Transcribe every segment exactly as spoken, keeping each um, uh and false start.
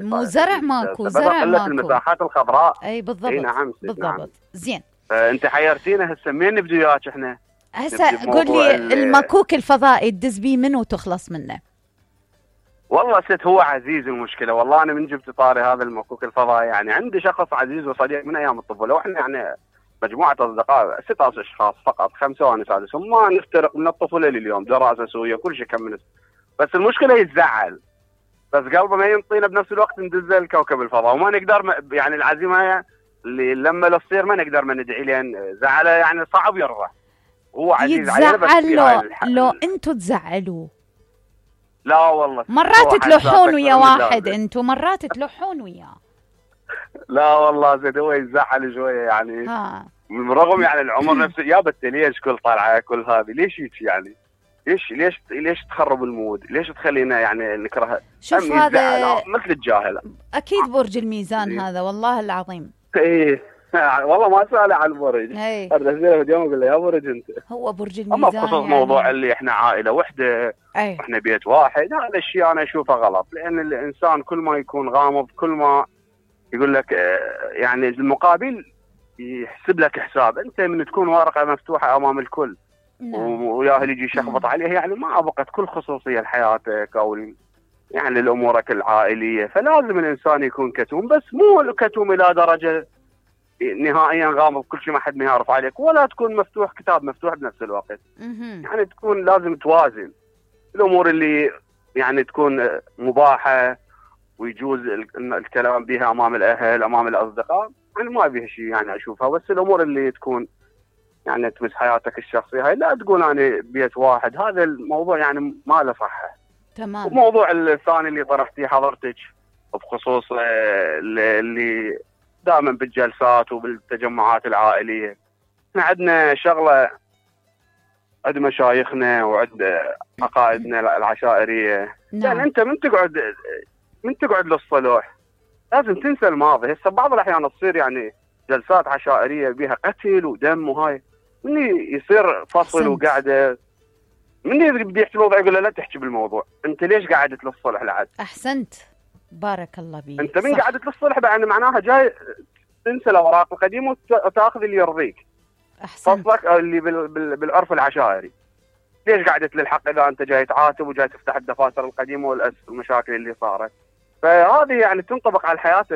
مو زرع ماكو، سببها زرع قلة ماكو. المساحات الخضراء. اي بالضبط. اي نعم بالضبط. نعم. زين. فانت حيرتينا هسه منين نبدي وياك احنا؟ هسه قول لي المكوك الفضائي تدز بيه منو وتخلص منه؟ والله ست هو عزيز المشكله، والله انا من جبت طاري هذا المكوك الفضائي يعني عندي شخص عزيز وصديق من ايام الطفوله، واحنا يعني مجموعه اصدقاء ستة اشخاص فقط، خمسه وانا سادسهم، ما نفترق من الطفوله لليوم، دراسه سويه كل شيء كمل. بس المشكله يتزعل، بس قلبه ما ينطينا بنفس الوقت ندز الكوكب الفضاء، وما نقدر يعني العزيمه اللي لما تصير ما نقدر ما ندعي لين زعله يعني صعب يرضى. هو عزيز علينا بس يتزعل لو انتم تزعلوه. لا والله مرات تلوحون ويا واحد انتم، مرات تلوحون وياه. لا والله زين هو يزعل شويه يعني. ها بالرغم يعني العمر نفسه يا بت ليش كل طلعه كل هذه ليش هيك يعني؟ ليش ليش ليش تخرب المود؟ ليش تخلينا يعني نكره؟ شوف هذا مثل الجاهل. اكيد برج الميزان إيه؟ هذا والله العظيم. ايه والله ما سأله عن البرج. هذا زين اليوم اقول له يا برج انت. هو برج الميزان. اما بخصوص يعني موضوع اللي احنا عائله وحده واحنا بيت واحد، هذا الشيء انا اشوفه غلط، لان الانسان كل ما يكون غامض كل ما يقول لك يعني المقابل يحسب لك حساب. انت من تكون ورقه مفتوحه امام الكل وياه اللي يجي يشخبط عليها يعني ما بقت كل خصوصيه لحياتك او يعني لامورك العائليه، فلازم الانسان يكون كتوم، بس مو كتوم الى درجه نهائيا غامض كل شيء ما حد ما يعرف عليك، ولا تكون مفتوح كتاب مفتوح بنفس الوقت. يعني تكون لازم توازن الامور اللي يعني تكون مباحه ويجوز الكلام بها امام الاهل امام الاصدقاء، يعني ما بيها شيء يعني اشوفها، بس الامور اللي تكون يعني تمس حياتك الشخصيه هاي لا تقول انا بيت واحد، هذا الموضوع يعني ما له صحه. تمام. الموضوع الثاني اللي طرحتيه حضرتك بخصوص اللي دائما بالجلسات وبالتجمعات العائليه، احنا عندنا شغله عند مشايخنا وعند عقائدنا العشائريه. نعم. يعني انت من تقعد من تقعد للصلح لازم تنسى الماضي. هسه بعض الاحيان تصير يعني جلسات عشائريه بها قتل ودم وهاي، من يصير فصل وقعده من بده يحكي الموضوع يقول له لا تحكي بالموضوع، انت ليش قعدت للصلح لعد؟ احسنت بارك الله بيك. انت من قعدت للصلح يعني معناها جاي تنسى الاوراق القديمه وتاخذ اللي يرضيك. احسنت. فصلك اللي بال بال بالعرف العشائري. ليش قعدت للحق اذا انت جاي تعاتب وجاي تفتح الدفاتر القديمه والمشاكل اللي صارت؟ فهذه يعني تنطبق على الحياه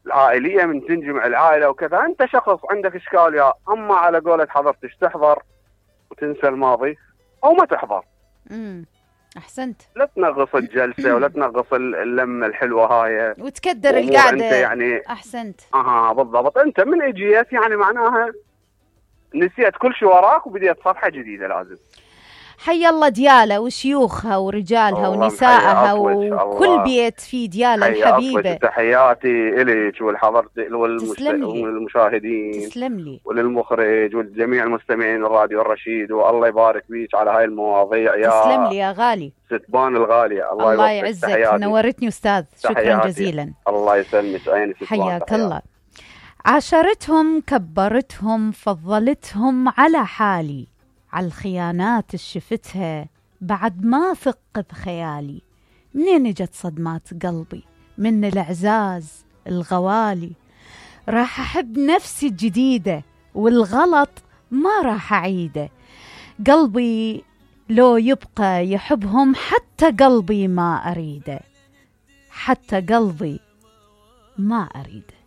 العائليه من تنجمع العائله وكذا. انت شخص عندك اشكال يا اما على قولة حضرتك تحضر وتنسى الماضي او ما تحضر. امم احسنت. لا تنغص الجلسه ولا تنغص اللمه الحلوه هاي وتكدر القعده. انت يعني احسنت. اها بالضبط. انت من اجيت يعني معناها نسيت كل شيء وراك وبديت صفحه جديده. لازم حي الله دياله وشيوخها ورجالها ونسائها وكل بيت في دياله الحبيبه. تحياتي اليك والحضرتك والمشاهدين. تسلم لي. وللمخرج ولجميع المستمعين الراديو الرشيد، والله يبارك فيك على هاي المواضيع يا تسلم لي يا غالي ستبان الغاليه. الله, الله يعزك. نورتني استاذ. شكرا تحياتي. جزيلا. الله يسلمك. عيني ستبان. حياك الله. عاشرتهم كبرتهم فضلتهم على حالي، على الخيانات شفتها بعد ما ثق بخيالي، منين اجت صدمات قلبي من الإعزاز الغوالي، راح أحب نفسي الجديدة والغلط ما راح أعيده، قلبي لو يبقى يحبهم حتى قلبي ما أريده، حتى قلبي ما أريده.